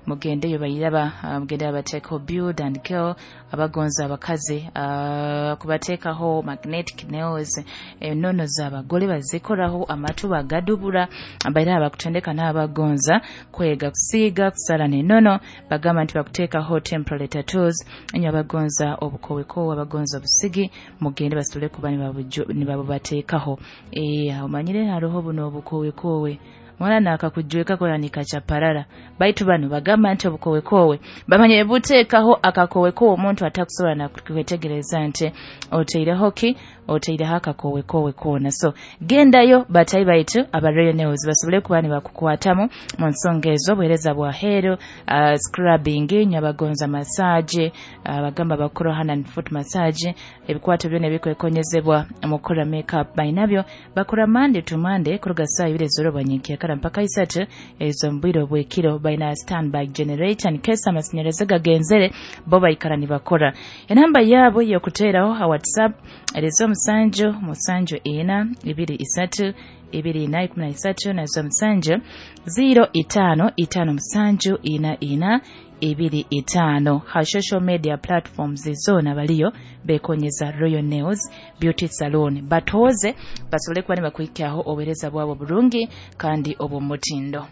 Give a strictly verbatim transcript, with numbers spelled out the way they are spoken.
Mugendeyo bayiraba, mugende babateekaho build and girl, abagonza abakazi uh, kubateekaho magnetic nails, enono z'abagole bazikoraho, amatu bagadubura, bayiraba bakutendeka n'abagonza kwega kusiiga, kusara n'enono. Bagamba nti bakuteekaho temporary tattoos. Inywe abagonza obukowekowe, abagonza obusigi, mugende basobole kuba nibabubateekaho. Eh, omanyire haroho buno obukowekowe mwana nakakujweka kora nikachaparara, baitu bano bagamba nti obukowekowe bamanyire buteekaho akakowekowe omuntu atakusobola nakwetegereza nti oteireho ki, oteireho akakowekowe koona. So gendayo batayi baitu aba Royal Nails basobole kuba nibakukwatamu mu nsonga ezo, obuheereza bwa heeru, uh, scrubbing, nyabagonza massage, uh, bagamba bakora hand and foot massage, ebikwato byona ebikwekonyezebwa mu kukora makeup bainabyo. Bakora Monday to Monday kuruga saa ibiri ez'orobwa nyenkya mpaka isatu ez'omu bwire obw'ekiro. Baina standby generator in case amasanyarazi gagenzere, bo baikara nibakora. Enamba yaabo y'okuteeraho ha WhatsApp erizo musanju musanju ina ibiri isatu ibiri ina ikumi na isatu, nazo musanju ziro itaano itaano musanju ina ina ibiri itaano. Ha social media platforms zoona baliyo bekonyeza Royal Nails Beauty Salon. Batooze basobole kuba nibakuhikyaho obuheereza bwabo burungi kandi obw'omutindo.